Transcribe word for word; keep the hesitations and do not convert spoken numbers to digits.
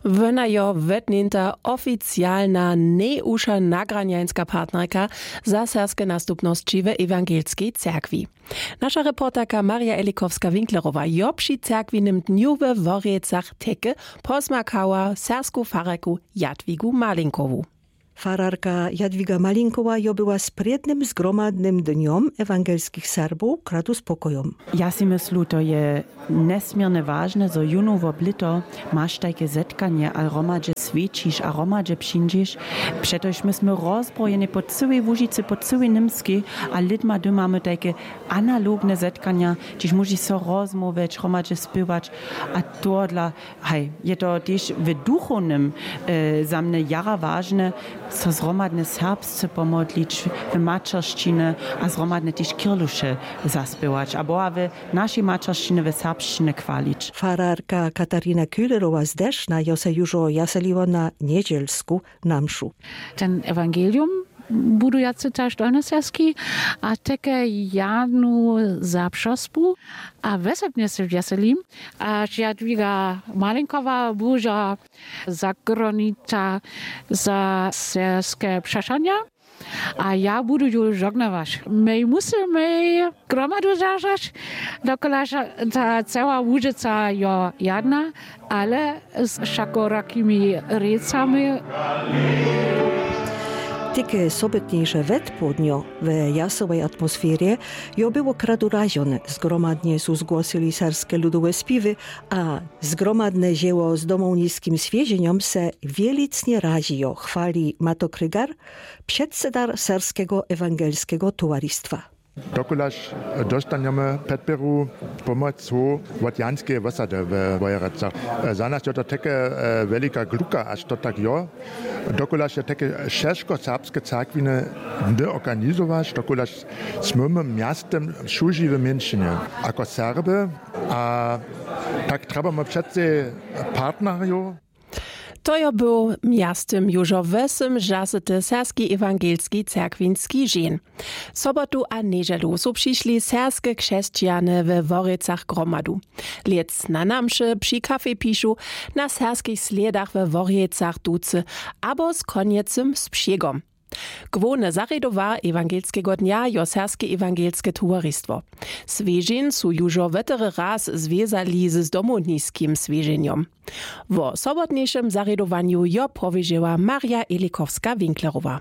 Wona jo wetněnta oficialna nejwuša nagranjańska partnerka za serbske nastupnosći w ewangelskej cyrkwi. Naša reporterka Marja Elikowska-Winklerowa jo při cyrkwinem dnju we Worjecach teke pozmakała serbsku fararku Jadwigu Malinkowu. Fararka Jadwiga Malinkowa jo była z prědnym zgromadnym dnjom ewangelskich Serbow kradu spokojom. Ja si myslu, to je njesměrnje wažne, zo jónu wob lěto maš tajke zetkanje a hromadźe swjećiš a hromadźe přińdźeš. Přetož my smy rozbrojeni po cyłej Łužicy, po cyłej Němskej, a lědma dymamy tajke analogne zetkanja, hdźež móžeš so rozmołwjeć, hromadźe spěwać. A tohodla, haj, je to tež w duchownym za mnje jara wažne, so zhromadnje serbsce pomodlić w maćeršćiny a zhromadnje tež kirluše zaspěwać a Boha w našej maćeršćiny, w serbšćiny chwalić. Fararka Katarina Köhlerowa z Dešna jo se južo jaseliła na njedźelsku na mšu. Ten ewangelium budujacy tež dolnoserbski, a teke janu za přospu. A wesebnje se wjeselim, a Jadwiga Malinkowa buža zagronica za serbske přešanja. A ja budu ju žognować, mej musy mej gromadu zažać, dokulaž ta cała Łužica jo jadna, ale z wšakorakimi rěcami. Tike sobytnješe wetpołdnjo we jasowej atmosferje jo było kradu ražone. Zgromadnje su zgłosyli serbske ludowe spiwy, a zgromadne žeło z domowniskim swěženjom se wjelicnje ražijo, chwali Mato Krygar, předsedar serbskeho ewangelskeho towaristwa. Dokulaž dóstanjemy předpěru pomocu wot janskeje wosady we Wojerecach. Za nas jo to teke wjelika gluka, až to tak jo. Dokulaž je teke šeško serbske cyrkwiny, ndy organizować, dokulaž smymy mjastym słuži w mjeńšinje ako Serby, a tak trjebamy přecej partnerjow. To jo był mjastym južo wosym žasyty serbski ewangelski cyrkwinski žeń. Sobotu a njedźelu su přišli serbske křesćijany we Worjecach gromadu. Lěc na namše při kafej pišu, na serbskich slědach we Worjecach ducy abo z konjecym spśěgom. Głowne zarědowa ewangelskeho dnja jo serbske ewangelske towaristwo. Swěžeń su južo wotry raz zwězali z domowniskim swěženjom. Wo sobotnješem zarědowanju jo powěžeła Marja Elikowska-Winklerowa.